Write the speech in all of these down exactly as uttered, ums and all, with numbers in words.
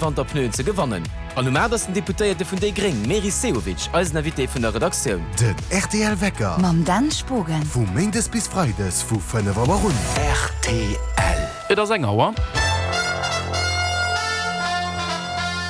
Wanterpneuen ze gewannen. An um aacht ass den Deputéierte vun déi gréng Meris Sehovic eisen Invité vun der Redaktioun. Den rtl Wecker. Mam Dan Spogen. Vu méindes bis freides vu fënnef Auer un. Rtl. Et ass eng Auer.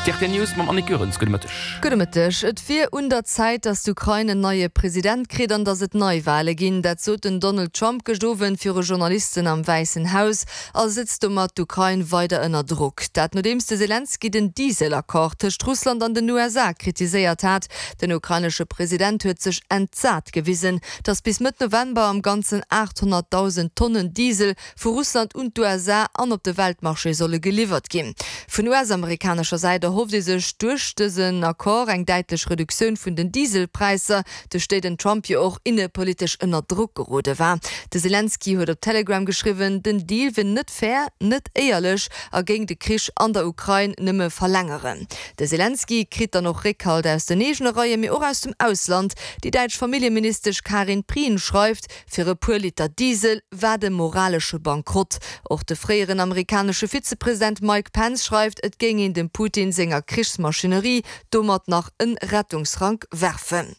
D'Rtl News mam Annick Goerens. Gudde Mëtteg. Gudde Mëtteg. Et wier un der Zäit, datt d'Ukrain en neie President kritt an datt et Neiwale ginn. Dat sot den Donald Trump gëscht Owend viru Journalisten am Wäissen Haus a setzt domat d'Ukrain weider ënner Drock. Dat nodeems de Selenskyj den Diesel-Accord tëscht Russland an den U S A kritiséiert hat. Den ukrainesche President huet sech entsat gewisen, datt bis Mëtt November am Ganzen aathonnertdausend Tonnen Diesel vu Russland un d'U S A an op de Weltmarché solle geliwwert ginn. Vun U S-amerikanescher Säit erhofft ee sech duerch dësen Accord eng däitlech Reduktioun vun den Dieselpräisser, duerch déi den Trump jo och innepolitesch ënner Drock gerode war. De Selenskyj huet op Telegram geschriwwen, den Deal wier net fair, net éierlech a géing de Krich an der Ukrain nëmme verlängeren. De Selenskyj kritt dann och Réckhalt aus den eegene Reien, mee och aus dem Ausland. Déi däitsch Familljeministesch Karin Prien schreift, fir e puer Liter Diesel war de moralesche Bankrott. Och de fréieren amerikanesche Vizepresident Mike Pence schreift, et géing een dem Putin senger Krichsmaschinerie domat nach en Rettungsrank werfen.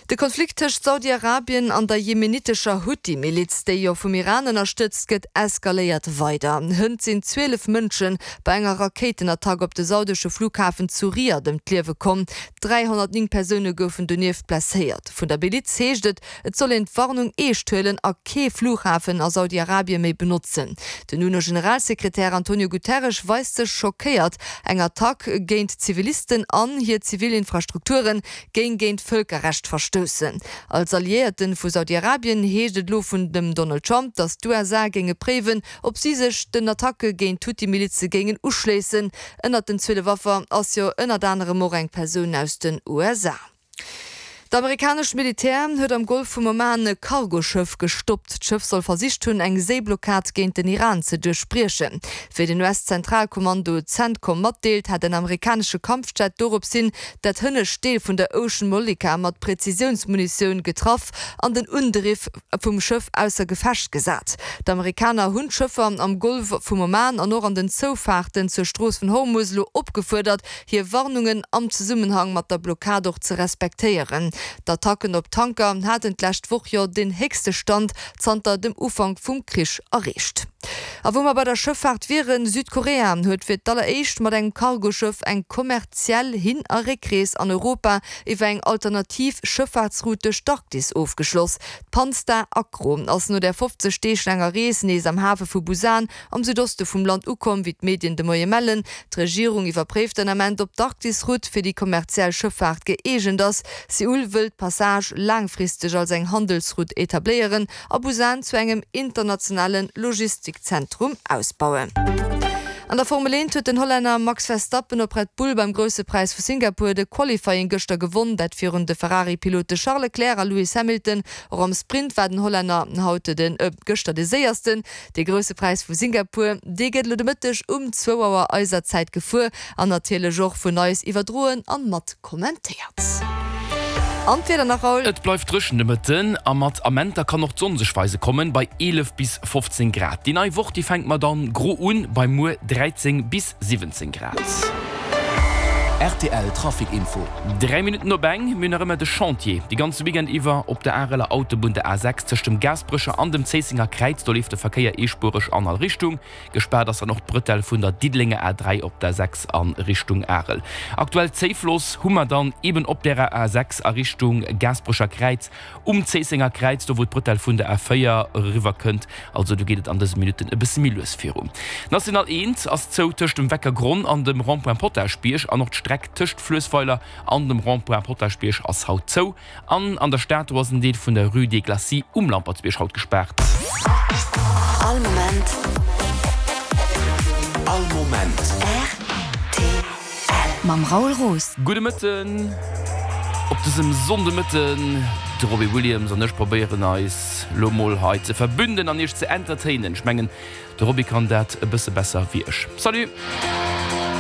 De Konflikt tëscht Saudi-Arabien an der jemenitescher Houthi-Miliz, déi jo vum Iran ënnerstëtzt gëtt, eskaléiert weider. Hënt sinn zwielef Mënsche bei enger Rakéitenattack op de saudesche Flughafen zu Riyadh ëm d'Liewe komm. dräihonnertnéng Persoune goufen donieft blesséiert. Vun der Miliz heescht et, et soll een d'Warnung eescht huelen a kee Flughafen a Saudi-Arabien méi benotzen. Den U N O-Generalsekretär Antonio Guterres weist sech schockéiert. Eng Attack géint Zivilisten an hir Zivilinfrastrukturen géing géint Vëlkerrecht verstoussen. Als Alliierten vu Saudi-Arabien heescht et lo vun dem Donald Trump, datt d'U S A géinge préiwen, ob si sech den Attacke géint d'Houthi-Milize géingen uschléissen. Ënnert den zwielef Affer ass jo ënnert anerem och eng Persoun aus den U S A. D'amerikanescht Militär huet am Golf vum Oman e Cargoschëff gestoppt. D'Schëff soll versicht hunn, eng Séiblockad géint den Iran ze duerchbriechen. Wéi den U S-Zentralkommando CENTCOM matdeelt, hat en amerikanesche Kampfjet dorops hin dat hënnescht Deel vun der Ocean Mollica mat Präzisiounsmunitioun getraff an den Undriff vum Schëff ausser Gefecht gesat. D'Amerikaner hunn d'Schëffer am Golf vum Oman an och an den Zoufahrten zur Strooss vun Hormuz lo opgefuerdert, hir Warnungen am Zusammenhang mat der Blockad och ze respektéieren. D'Attacken op Tanker haten d'lescht Woch jo den héchste Stand zanter dem Ufank vum Krich erreecht. A wou mer bei der Schëffaart wieren, Südkorea huet fir d'alleréischt mat engem Cargoschëff eng kommerziell Hin- a Réckrees an Europa iwwer eng alternativ Schëffaartsroute duerch d'Arktis ofgeschloss. D'Panstar Acro ass no der fofzeg Deeg langer Rees nees am Hafe vu Busan am Südoste vum Land ukomm, wéi d'Medien de Moie mellen. D'Regierung iwwerpréift den Ament, ob d'Arktisroute fir déi kommerziell Schëffaart gëeegent ass. Seoul wëll d'Passage laangfristeg als eng Handelsroute etabléieren a Busan zu engem internationalen Logistikzentrum ausbauen. An der Formel eent huet den Hollänner Max Verstappen op Red Bull beim Große Preis vu Singapur de Qualifying gëschter gewonnen, dat virun de Ferrari-Pilote Charles Leclerc a Lewis Hamilton. Och am Sprint war den Hollänner haut den, äh, gëschter de séiersten. De Große Preis vu Singapur, dee gëtt lo de Mëtteg um zwou Auer eiser Zäit gefuer an natierlech och vun eis iwwerdroen an mat kommentéiert. An d'Wieder nach, Raoul? Et bleift dréchen de Mëtten a mat Amenter kann och d'Sonn sech weise kommen bei eelef bis fofzéng Grad. Déi nei Woch, déi fänkt mat dann gro un bei muer dräizéng bis siwwenzéng Grad. R T L Trafic Info. Dräi Minutten op eng, mir hunn nach ëmmer de Chantier. Déi ganze Weekend iwwer op der Areler Autobunn der A sechs tëscht dem Gaasperecher an dem Zéissenger Kräiz, do leeft de Verkéier eespuereg an all Richtung. Gespaart ass dann och d'Bretelle vun der Diddelenger A dräi op der sechs an Richtung Arel. Aktuell Zéifloss hu mer dann eben op der A sechs a Richtung Gaasperecher Kräiz um Zéissenger Kräiz, do wou d'Bretelle vun der A véier eriwwer kënnt. Also do geet et an dëse Minutten e bësse méi lues viru. National eent ass zou tëscht dem Weckergronn an dem Rond-point Potaschbierg an och d'Streck tëscht Fluessweiler an dem Rond-point Potaschbierg ass haut zou. An an der Stad do ass en Deel vun der Rue des Glacis um Lampertsbierg haut gespaart. All Moment. All Moment. R T L. Mam Raoul Roos. Gudde Mëtten. Op dësem Sonndemëtten, de Robbie Williams an ech probéieren eis lo mol hei ze verbünden an iech ze entertainen. Ech mengen, de Robbie kann dat e bësse besser wéi ech. Salut!